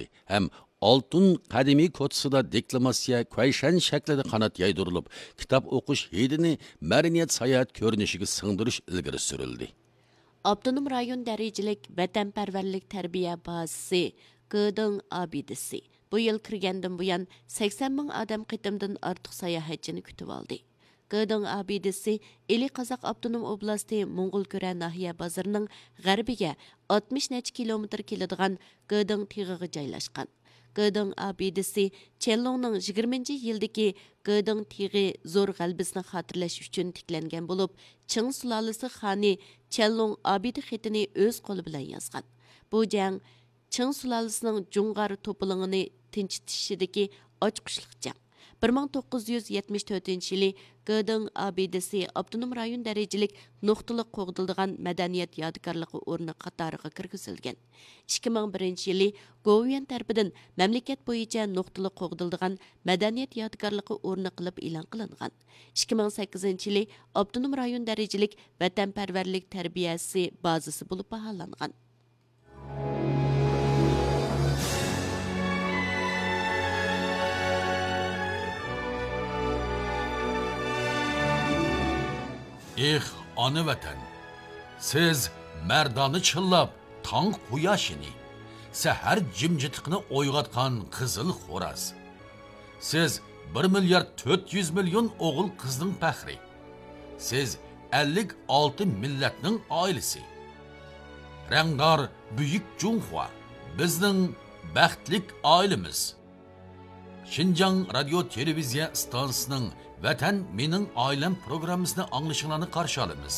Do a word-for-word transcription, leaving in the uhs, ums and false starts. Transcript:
ئېچىلدى ھەم ئالتۇن قەدىمىي كوچىسىدا دېكلاماتسىيە كۇەيشەن شەكلىدە قانات يايدۇرۇلۇپ، كىتاب ئوقۇش ھىدىنى مەدەنىيەت ساياھەت كۆرۈنۈشىگە سىڭدۈرۈش ئىلگىرى سۈرۈلدى. ئاپتونوم رايون دەرىجىلىك ۋەتەنپەرۋەرلىك تەربىيە بازىسى گېدىڭ ئابىدىسى بۇ يىل كىرگەندىن بۇيان سەكسەن مىڭ ئادەم قېتىمدىن ئارتۇق ساياھەتچىنى كۈتۈۋالدى. گېدىڭ ئابىدىسى ئىلى قازاق ئاپتونوم ئوبلاستى موڭغۇلكۈرە ناھىيە بازىرىنىڭ غەربىگە ئاتمىش نەچچە كىلومېتىر كېلىدىغان گېدىڭ تېغىغا جايلاشقان. گېدىڭ ئابىدىسى چيەنلۇڭنىڭ يىگىرمىنچى يىلدىكى گېدىڭ تېغى زور غەلىبىسىنى خاتىرىلەش ئۈچۈن تىكلەنگەن بولۇپ، چىڭ سۇلالىسى خانى چيەنلۇڭ ئابىدە خېتىنى ئۆز قولى بىلەن يازغان. بۇ جەڭ چىڭ سۇلالىسىنىڭ جۇڭغار توپىلىڭىنى تىنچىتىشىدىكى ئاچقۇچلۇق جەڭ. بىر مىڭ توققۇز يۈز يەتمىش تۆتىنچى يىلى گېدىڭ ئابىدىسى ئاپتونوم رايون دەرىجىلىك نۇقتىلىق قوغدىلىدىغان مەدەنىيەت يادىكارلىقى ئورنى قاتارىغا كىرگۈزۈلگەن. ئىككى مىڭ بىرىنچى يىلى گوۋۇيۈەن تەرىپىدىن مەملىكەت بويىچە نۇقتىلىق قوغدىلىدىغان مەدەنىيەت يادىكارلىقى ئورنى قىلىپ ئېلان قىلىنغان. ئىككى مىڭ سەككىزىنچى يىلى ئاپتونوم رايون دەرىجىلىك ۋەتەنپەرۋەرلىك تەربىيەسى بازىسى بولۇپ باھالانغان. ئېھ، ئانا ۋەتەن! سىز مەردانە چىللاپ تاڭ قۇياشىنى، سەھەر جىمجىتلىقىنى ئويغاتقان قىزىل خوراز. سىز بىر مىليارد تۆت يۈز مىليون ئوغۇل قىزنىڭ پەخرى. سىز ئەللىك ئالتە مىللەتنىڭ ئائىلىسى. رەڭدار بۈيۈك جۇڭخۇا، بىزنىڭ بەختلىك ئائىلىمىز. شىنجاڭ رادىيو تېلېۋىزىيە ئىستانسىسىنىڭ ۋەتەن مېنىڭ ئائىلەم پروگراممىسىنى ئاڭلىشىڭلارنى قارشى ئالىمىز.